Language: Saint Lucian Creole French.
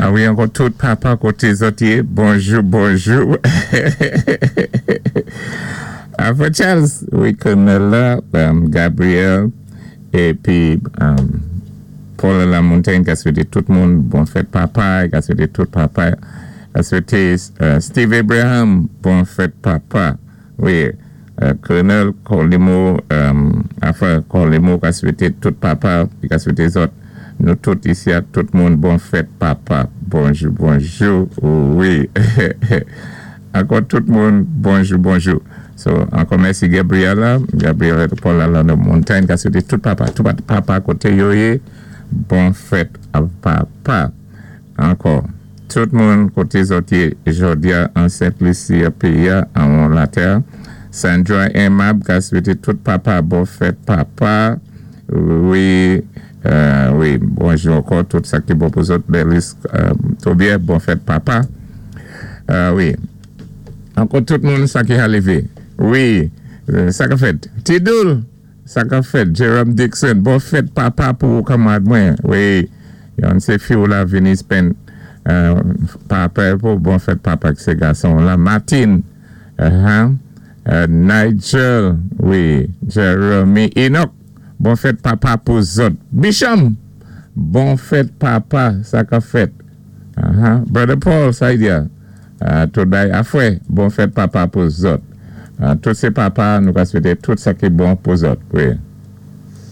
A wi, ankò tout papa koté zòt yé, bonjou, bonjou. Afra Charles, wi, Colonel la, Gabriel, épi Paul Lamontagne ka swété tout moun bon fèt papa, ka swété tout papa, ka swété Steve Abraham bon fèt papa. Wi, Colonel Colimo, Afra Colimo ka swété tout papa, li ka swété zòt nou tout isi a, tout moun bon fèt papa. Bonjou, bonjou, wi. Ankò tout moun, bonjou, bonjou. So, ankò mèsi Gabriela, Gabriela Paul Alano Montagne ka swété tout papa, tout papa koté yo yé, bon fèt papa. Ankò, tout moun koté zòt yé jòdi-a an Sent Lisi péyi-a anwon latè. Sandra Aimable ka swété tout papa bon fèt papa. Wi, wi, bonjou ankò tout sa ki bon pou zòt. Berlis Tobier, bon fèt papa. Wi. Ankò tout moun sa ki ha lévé. Wi, sa ka fèt? Ti Doul! Sa kap fèt Jerome Dixon, bon fèt papa pou ou kanmarad mwen wi, yon sé fi ou la vini spend papa pou bon fèt papa ki sé gason ou la Martine Nigel wi Jeremy Enock bon fèt papa pou zòt Bicham bon fèt papa sa kap fèt Brother Paul sa y di a. Tout bay afwè bon fèt papa pou zòt. Tout sé papa nou ka swété tout sa ki bon pou zòt wi.